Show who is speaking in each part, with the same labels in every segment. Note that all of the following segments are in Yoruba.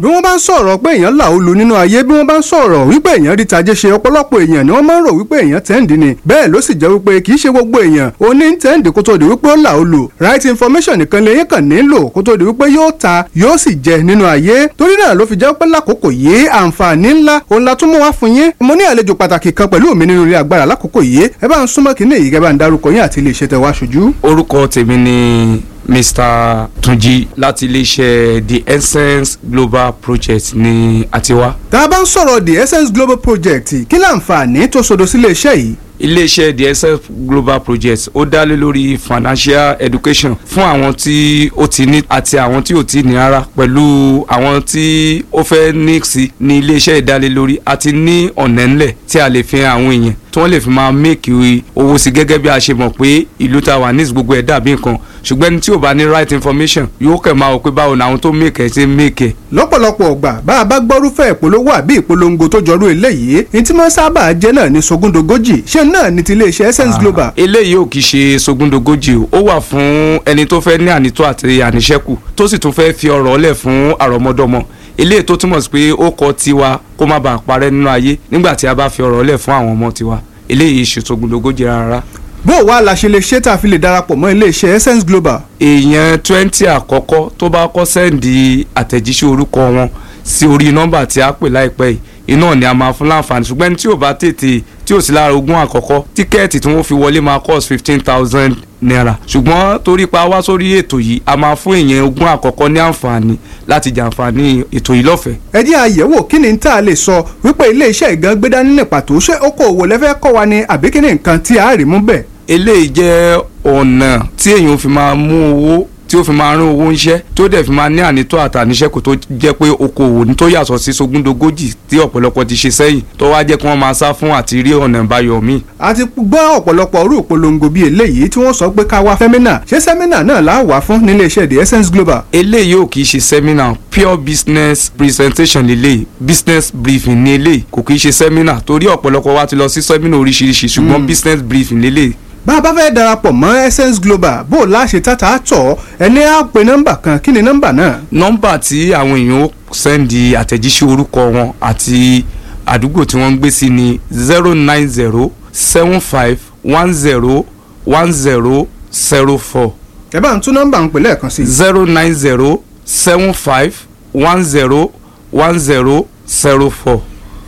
Speaker 1: Bí wọ́n bá ń sọ̀rọ̀ pé èèyàn là ó lu nínú ayé, bí wọ́n bá ń sọ̀rọ̀ wípé èèyàn rí tajé ṣe, ọ̀pọ̀lọpọ̀ èèyàn ni wọ́n máa ń rò wípé èèyàn tẹ́ǹdì ni. Bẹ́ẹ̀ ló sì jẹ́ wípé kì í ṣe gbogbo èèyàn ó ní tẹ́ǹdì kó tó di wípé ó là ó lu. Right information nìkan lèyìn kàn nílò kó tó di wípé yóò ta, yóò sì jẹ nínú ayé. Torí náà ló fi jẹ́ pé lákòókò yìí, àǹfààní ńlá òun la tún mú wá fún yín. Mo ní àlejò pàtàkì kan pẹ̀lú mi nínú ilé agbára lákòókò yìí. Ẹ bá ń súnmọ́ kínní yìí, kẹ́ bá ń darúkọ yín àti ilé iṣẹ́ tẹ́ wá ṣojú.
Speaker 2: Orúkọ tèmi ni Mr. Tunji láti iléeṣẹ́ The Essence Global Project ní àtiwá.
Speaker 1: Tá a bá ń sọ̀rọ̀ The Essence Global Project, kí láǹfààní tó sodo sílé iṣẹ́ yìí?
Speaker 2: Iléeṣẹ́ The Essence Global Project, ó dá lé lórí financial education fún àwọn tí ó ti ní àti àwọn tí ò ti ní ara, pẹ̀lú àwọn tí ó fẹ́ ní sí ní iléeṣẹ́ ìdálélórí àti ní ọ̀nà ńlẹ̀ tí a lè fi hàn àwọn èèyàn tí wọ́n lè fi máa make owó sí. Gẹ́gẹ́ bí a ṣe mọ̀ pé ìlú ta wà ní, gbogbo ẹ̀ dàbí nǹkan, ṣùgbọ́n ẹni tí ò bá ní right information yóò kẹ̀ máa wò pé báwo ni àwọn tó make ẹ̀ ṣe make ẹ̀.
Speaker 1: Lọ́pọ̀lọpọ̀ ọgbà, bá a bá gbọ́rúfẹ́ ìpolówó àbí ìpolongo tó jọrú eléyìí, ní tí wọ́n sábà jẹ́ náà ní sogúndogójì. Ṣé náà ní ti iléeṣẹ́ Essence Global?
Speaker 2: Eléyìí ò kì í ṣe sogúndogójì o. Ó wà fún ẹni tó fẹ́ ní ànító àti àníṣẹ́kù, tó sì tún fẹ́ fi ọrọ̀ lẹ̀ fún àrọ́mọdọ́mọ. Eléyìí tó túmọ̀ sí pé ó kọ tiwa kó má bàa parẹ́ nínú ayé nígbà tí a bá fi ọrọ̀ lẹ̀ fún àwọn ọmọ tiwa. Eléyìí ṣe sogúndogójì rárá.
Speaker 1: Bó o wá la ṣe lè ṣe tá a fi lè darapọ̀ mọ́ iléeṣẹ́ Essence Global?
Speaker 2: Èèyàn 20 àkọ́kọ́ tó bá kọ́ send àtẹ̀jíṣẹ́ orúkọ wọn sí orí nọ́mbà tí a pè láìpẹ́ yìí, iná ni a máa fún láǹfààní. Ṣùgbọ́n ẹni tí ò bá tètè, tí ò sí lára 20 àkọ́kọ́, tíkẹ́ẹ̀tì tí wọ́n fi wọlé máa cost ₦15,000. Ṣùgbọ́n torí pa wá sórí ètò yìí, a máa fún èèyàn 20 àkọ́kọ́ ní àǹfààní láti jàǹfààní ètò yìí lọ́fẹ̀ẹ́.
Speaker 1: Ẹ jẹ́ àyẹ̀wò, kí ni tá a lè sọ wípé iléeṣẹ́ ìgan gbé dání ní pàtó? Ṣé okòòwò lẹ́fẹ́ kọ́ wa ni, àbí kí ni nǹkan tí a rí mú bẹ́ẹ̀?
Speaker 2: Eléyìí jẹ́ ọ̀nà tí èèyàn fi máa mú owó, tí ó fi máa rán owó ńṣẹ́, tó dẹ̀ fi máa ní ànító àtàníṣẹ́kù, tó jẹ́ pé okòwò ní tó yàtọ̀ sí sogúndogójì tí ọ̀pọ̀lọpọ̀ ti ṣe sẹ́yìn, tó wá jẹ́ kí wọ́n máa sá fún àti rí ọ̀nà ìbáyọ̀ míì.
Speaker 1: A ti gbọ́ ọ̀pọ̀lọpọ̀ orú ìpolongo bíi eléyìí tí wọ́n sọ pé ká wá seminar. Ṣé seminar náà là á wà fún nílé iṣẹ́ The Essence Global?
Speaker 2: Eléyìí ò kì í ṣe seminar. Pure business presentation lélẹ́yìí, business briefing ní eléyìí. Kò kì í ṣe seminar, torí ọ̀pọ̀lọpọ̀ wa ti lọ sí seminar oríṣiríṣi, ṣùgbọ́n business briefing lélẹ́yìí.
Speaker 1: Bá a bá fẹ́ darapọ̀ mọ́ Essence Global, bó o láṣẹ tàtà tọ̀, ẹni á pe nọ́mbà kan. Kí ni nọ́mbà náà?
Speaker 2: Nọ́mbà tí àwọn èèyàn ó send àtẹ̀jíṣẹ́ orúkọ wọn àti àdúgbò tí wọ́n ń gbé sí ni 09075101004.
Speaker 1: Ẹ bá ń tún nọ́mbà ń pè lẹ́ẹ̀kan sí i.
Speaker 2: 09075101004.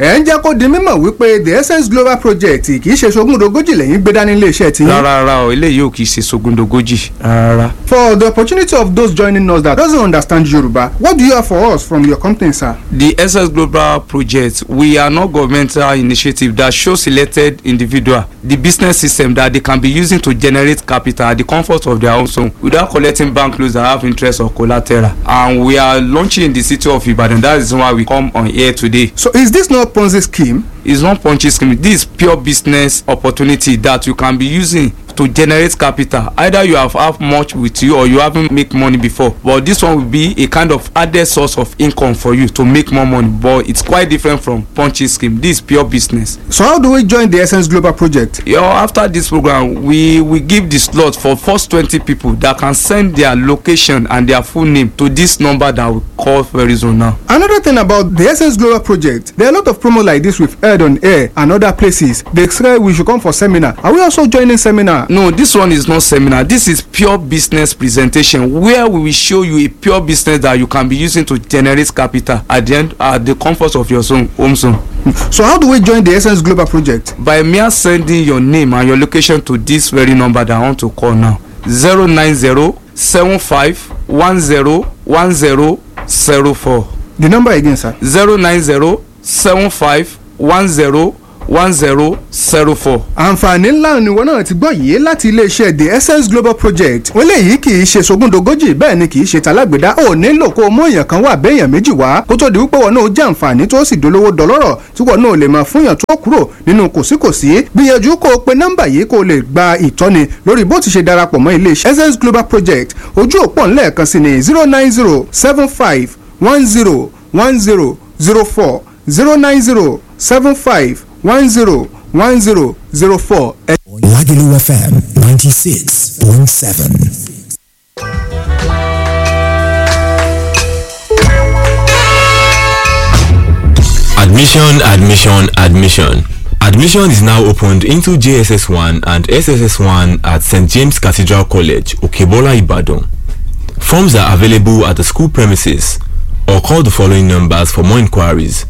Speaker 1: Ẹ̀ ń jẹ́ kó di mímọ̀ wípé The Essence Global Project kì í ṣe sogúndogójì lẹ́yìn gbé dání iléeṣẹ́ tiyín.
Speaker 2: Rárá rárá o, eléyìí ò kì í ṣe sogúndogójì rárá.
Speaker 1: For the opportunity of those joining us that doesn't understand Yoruba, what do you have for us from your company, sir?
Speaker 2: The Essence Global Project, we are not governmental initiative that shows selected individual the business system that they can be using to generate capital at the comfort of their own home without collecting bank loans that have interest or collateral. And we are launching in the city of Ibadan. That is why we come on here today.
Speaker 1: So is this not Ponzi scheme?
Speaker 2: It's not Ponzi scheme. This is pure business opportunity that you can be using to generate capital. Either you have much with you or you haven't make money before, but this one will be a kind of added source of income for you to make more money. But it's quite different from Ponzi scheme. This is pure business.
Speaker 1: So how do we join the Essence Global Project?
Speaker 2: After this program, we give the slot for first 20 people that can send their location and their full name to this number that we call very soon now.
Speaker 1: Another thing about the Essence Global Project, there are a lot of promo like this we've heard on air and other places. They say we should come for seminar. Are we also joining seminar?
Speaker 2: No, this one is not seminar. This is pure business presentation where we will show you a pure business that you can be using to generate capital at the end, at the comfort of your zone, home zone.
Speaker 1: So how do we join the Essence Global Project?
Speaker 2: By mere sending your name and your location to this very number that I want to call now: 09075101004.
Speaker 1: The number again, sir.
Speaker 2: 09075101004.
Speaker 1: Àǹfààní ńlá ni wọn náà ti gbọ́ yìí láti iléeṣẹ́ The Essence Global Project. Wọ́n léyìí kì í ṣe sogúndogójì, bẹ́ẹ̀ ni kì í ṣe talágbèdá. Ò nílò kó o mú èèyàn kan wá béèyàn méjì wá kó tó di wípé wọn náà jẹ́ àǹfààní tó sì dolówó dọlọ́rọ̀, tí wọn náà lè máa fúnyàn tó kúrò nínú kòsíkòsí. Gbìyànjú kó o pe nọ́mbà yìí kó o lè gba ìtọ́ni lórí bó ti ṣe darapọ̀ mọ́ iléeṣẹ́ Essence Global Project. Ojú òpó ńlẹ̀ẹ̀kan sí ni 09075101004, 09075101004.
Speaker 3: Lagelu FM 96.7. Admission, admission, admission. Admission is now opened into JSS1 and SSS1 at St. James Cathedral College, Okebola, Ibadan. Forms are available at the school premises or call the following numbers for more inquiries: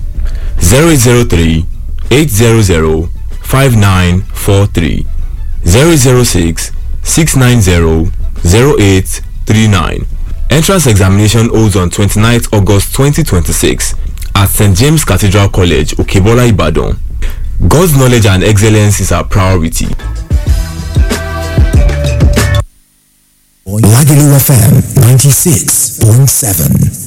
Speaker 3: 0803 800 5943, 006 690 0839. Entrance examination holds on 29th August 2026 at St. James Cathedral College, Okebola, Ibadan. God's knowledge and excellence is our priority.
Speaker 4: Lagelu FM 96.7.